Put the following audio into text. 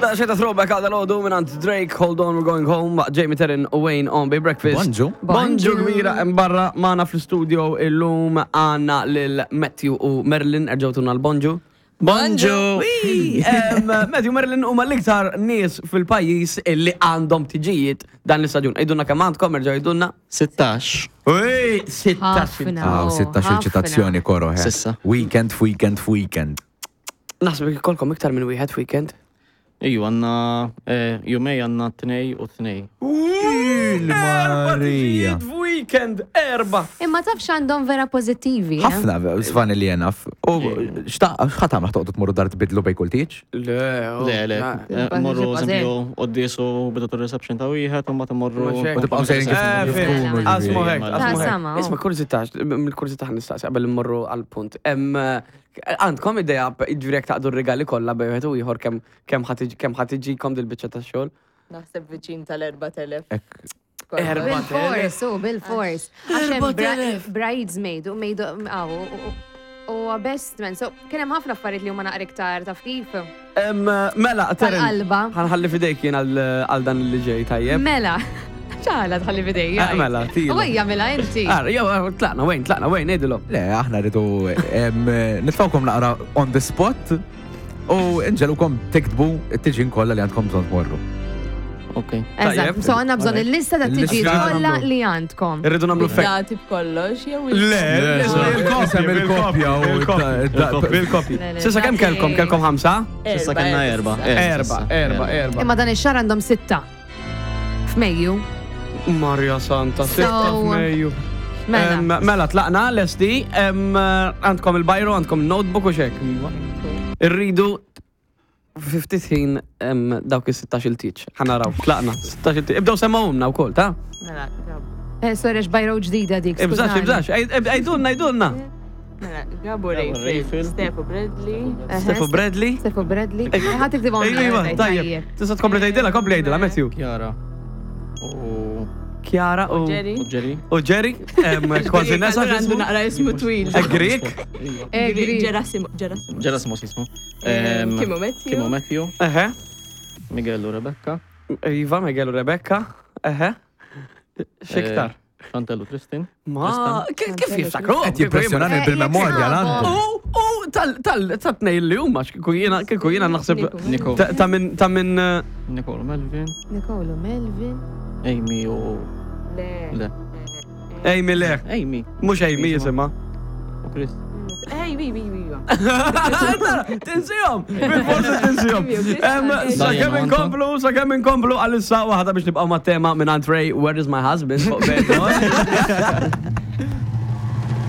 Da xeta throwback għal dal-għodu minn Drake, Hold On, We're Going Home, Jamie Terrin u Wayne on Bay Breakfast. Bonġu. Bonġu kbira hemm barra magħna fl-studio illum għandna lil Matthew u Merlin erġgħu tuna l-bonġu. Bonġu! Matthew Merlin huma l-iktar nies fil-pajjiż illi għandhom tiġijiet dan l-istaġun. Għidulna kemm għandkom, erġgħu għidulna. 16. Uj, 16. Ħafna. Aw, 16 il-ċitazzjoni koro, he. Sissa. Weekend f'weekend f'weekend. Naħseb ikolkom iktar minn wieħed weekend. Iju, għanna jumej għanna tnej u tnej. Erba Marija. tiġijiet f'weekend, erba. Imma taf x'għandhom vera pożittivi. eh? Ħafna, sfani li jenaf. U x'ħat għamla toqgħodu tmorru dar tbidlu bej kull tieġ? Le, oh, Le, le. na- Morru, Bażi. eżempju, qoddisu bidu reception ta' wieħed, u mbagħad morru. Mhux hekk. U tibqgħu sejrin kif Eh, kif fim. tkunu, Asmu ġifieri. hekk, Ta' asmu hekk. sama, oh. Isma' kurzita, mill-kurzita ħan nistaqsi qabel immorru għal-punt. Em, Għandkom idea ġifieri jekk taqdu r-rigali kollha bejn wieħed u ieħor kemm kemm ħa tiġi- kemm ħa tiġikom dil-biċċa tax-xogħol? Naħseb viċin tal-4000. Ek. Erba' Bil-fors, u bil-fors. Għax hemm bridesmaid u maid aw, u- u best man. So, kien hemm ħafna affarijiet li huma naqra iktar taf kif. Em, Mela, Terin, Tal-qalba. ħanħalli fidejk jien għal għal dan li ġej tajjeb. Mela. ċala tħalli fidejja. Eh, mela, tilu. U ejja mela inti. Ah, jew, eh, tlaqna, wejn, tlaqna, wejn, ngħidilhom. Le, aħna rridu em, nitfawkom naqra on the spot u nġelukom tiktbu t-tiġin kollha li għandkom bżonn tmorru. Ok. Eżatt, Tajjeb. so għandna bżonn il-lista ta' tiġijiet Il-lista kollha nagħmlu. li għandkom. Irridu nagħmlu fek. Dati b'kollox, jew Le, Isem il-kopja u bil-kopji. Le, le, Sissa kemm dati- kelkom? Kelkom ħamsa? Sissa kellna erba. Erba, erba, erba. Imma dan ix-xahar għandhom sitta. F'Mejju. Marja Santa, sitta So- f'Mejju. Mela. Em, Mela, tlaqna, lesti, em, għandkom il-bajru, għandkom notebook u xek. Irridu ftit ħin em, dawk is-16 il-tiċ. Ħanaraw, tlaqna, 16 il-tiċ. Ibdew semmawhomna wkoll, ta? Mela, Gab- Eh, sorry, għax bajro ġdida dik. Ibżax, skużani. ibżax, għajdulna, għajdulna. mela, Gabo Gabo Rayfield, Rayfield. Stefo Bradley, Eħe, Stefo Bradley. Stefo Bradley. Ħa tiktibhom. Ejwa, tajjeb. Tista' tkompli tgħidilha, kompli tgħidilha, Matthew. Chiara. U Chiara u Jerry. u Jerry. u Jerry, em, kważi nesa Allura għandu x'ismu. naqra ismu twil. Eh, Grek. Eh, Grek. Gerasimo. Gerasimo. Gerasimos jismu. Em, Kim u Matthew. Kim u Matthew. Eħe. Miguel u Rebecca. Iva, Miguel u Rebecca. Eħe. Xiktar. Eh, Chantel u Tristan. Ma, kif kif jiftakru? Qed jimpressjonani Eh, bil-memorja jekk l-għandu. U, u, tal, tal, tal tnej li huma, kieku jiena, kieku jiena naħseb Nico. ta' ta' minn, ta' minn, eh, Nicole u Melvin. Nicole u Melvin. Amy u. Le. Le. Amy le, Amy. mhux Amy jisimha. U Chris. Ej, wi, wi, wi, wi. Tinsihom, bil-forsi tinsihom. Em, Sa kemm Diana inkomplu, sa kemm inkomplu għalissa waħda biex nibqgħu mat-tema minn Ray, Where is my husband? fuq Bad Boy.